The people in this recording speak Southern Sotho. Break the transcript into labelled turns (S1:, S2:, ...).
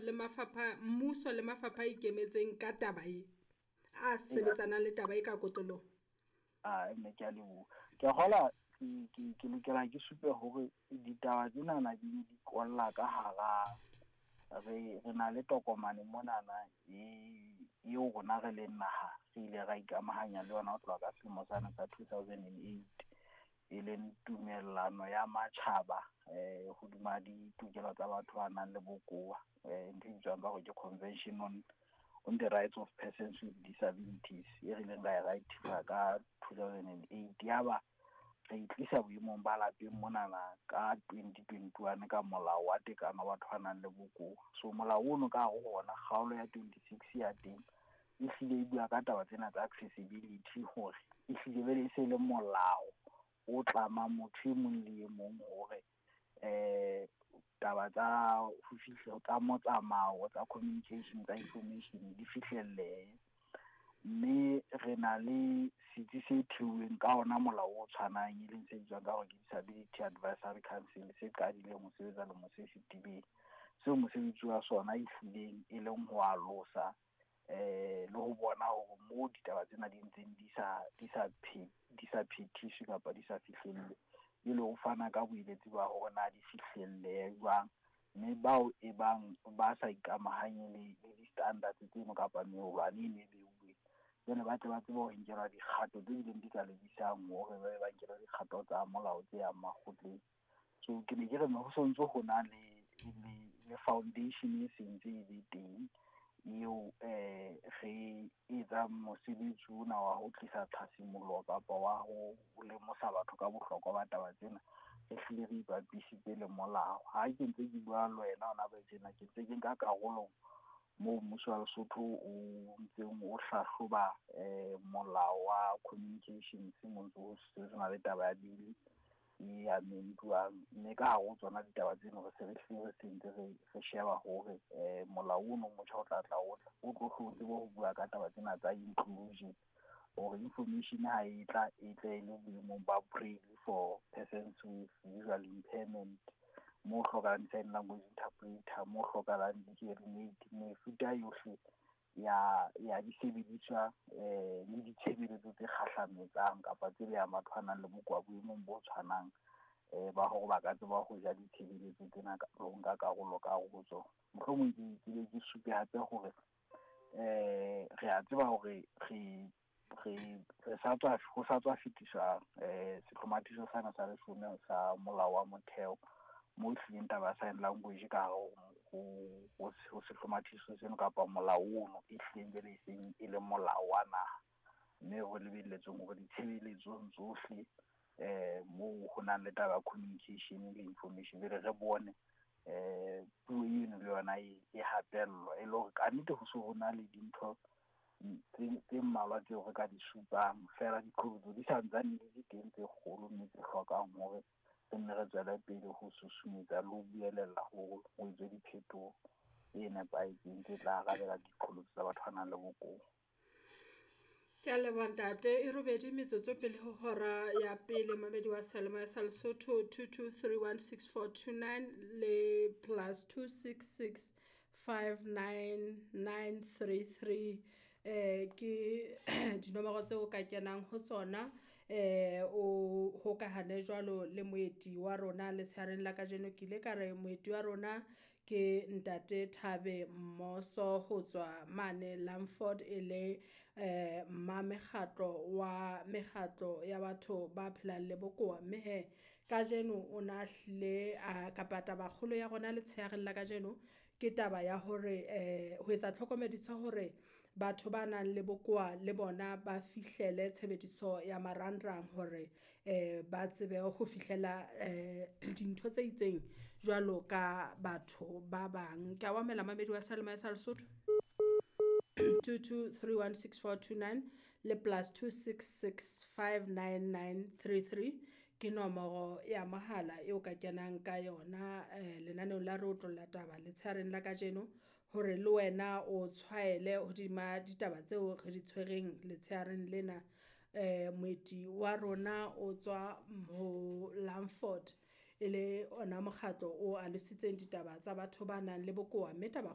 S1: le mafapha, mmuso le mafapha a ikemetseng ka taba e, a sebetsanang le taba e ka kotloloho?
S2: A mme ke a leboha. Ke a kgola ke lokela ke supe hore ditaba tsenana di kolla ka hara re na le tokomane monana e eo rona re leng naha re ile ra ikamahanya le yona ho tloha ka selemo sane sa 2008, e leng tumellano ya matjhaba hodima ditokelo tsa batho ba nang le bokowa, ntho e bitswang ka hore ke Convention on the Rights of Persons with Disabilities, e re ileng ra e ratify ka 2008. Yaba re itlisa boemong ba lapeng monana ka 2021 ka molao wa tekano wa batho ba nang le bokowa. So molao ono ka hare ho ona, kgaolo ya 26 ya teng e hlile e bua ka taba tsena tsa accessibility, hore e hlile bele e se le molao o tlamang motho e mong le e mong hore taba tsa ho fihla tsa motsamao, tsa communication, tsa information di fihlellehe. Mme re na le setsi se theuweng ka ona molao o tshwanang, e leng se bitswang ka hore ke Disability Advisory Council, se qadileng ho sebetsa lemo se fetileng, seo mosebetsi wa sona e hlileng e leng ho alosa le ho bona hore moo ditaba tsena di ntseng di sa phethiswe kapa di sa fihlellwe, e le ho fana ka boeletsi ba hore na di fihlellehe jwang. Mme bao e bang ba sa ikamahanye le di-standards tseno kapa meolwane e ne beuweng, jwale ba tle ba tsebe ho nkelwa dikgato tse bileng di ka lebisang hore ba be ba nkelwa dikgato tsa molao tse yang makgotleng. So ke ne ke re ho sontso ho na le foundation e sentse e le teng eo re etsang mosebetsi ona wa ho tlisa tlhasimollo kapa wa ho lemosa batho ka bohlokwa ba taba tsena, re hlile re ipapisitse le molao. Ha ke ntse ke bua le wena hona ba tjena, ke ntse ke nka karolo moo mmuso wa Lesotho o ntseng o hlahloba molao wa communications, mo ntse ho sebetsana le taba ya bili e amendwang. Mme ka hare ho tsona ditaba tseno re se re hlile re sentse re sheba hore molao ono motjha o tla tla o tla o tlo hle o tsebe ho bua ka taba tsena tsa inclusion, hore information ha e tla e tle e le boemong ba braille for persons with visual impairment, mo hlokahalang sign language interpreter, mo hlokahalang di-hearing aid, mefuta yohle ya disebediswa le ditshebeletso tse kgahlametsang kapa tse behang batho ba nang le bokowa boemong bo tshwanang ba hore ba ka tseba ho ja ditshebeletso tsena le ho nka karolo ka hare ho tsona. Mohlomong ke be ke supe hape hore re a tseba hore re sa tswa ho sa tswa fetiswa sehlomathiso sena sa leshome sa molao wa motheo, mo hlileng taba ya sign language ka hare ho sehlomathiso seno kapa molao ono e hlileng jwale e seng e le molao wa naha, mme re lebelletseng hore ditshebeletsong tsohle moo ho nang le taba ya communication le information jwale re bone puo eno le yona e hapellwa, e le hore kannete ho se ho na le dintho tse mmalwa tseo re ka di supang, fela diqholotso di sa ntsane di le teng tse kgolo mme tse hlokang hore re nne re tswele pele ho susumetsa le ho buelella hore ho etswe diphetoho tse nepahetseng tse tla arabela diqholotso tsa batho ba nang le bokowa.
S1: Ke a leboha ntate. E robedi metsotso pele ho hora ya pele, mamedi wa Seyalemoya sa Lesotho 22316429 le +266 59933 ke dinomoro tseo ka kenang ho tsona o hokahane jwalo le moeti wa rona letshehareng la kajeno. Ke ile ka re moeti wa rona ke ntate Thabe Mmoso ho tswa mane Langford, e le mma mekgatlo wa mekgatlo ya batho ba phelang le bokowa. Mme he kajeno o na hlile kapa taba kgolo ya rona letshehareng la kajeno ke taba ya hore ho etsa tlhokomediso hore batho ba nang le bokowa le bona ba fihlele tshebediso ya marangrang hore ba tsebe ho fihlela dintho tse itseng jwalo ka batho ba bang. Ke a o amohela mamedi wa Seyalemoya sa Lesotho 22316429 le +266 59933 ke nomoro ya mohala eo ka kenang ka yona lenaneong la re otlolla taba letshehareng la kajeno, hore le wena o tshwaele hodima ditaba tseo re di tshwereng letshehareng lena. Moeti wa rona o tswa ho Langford, e le ona mokgatlo o alositseng ditaba tsa batho ba nang le bokowa, mme taba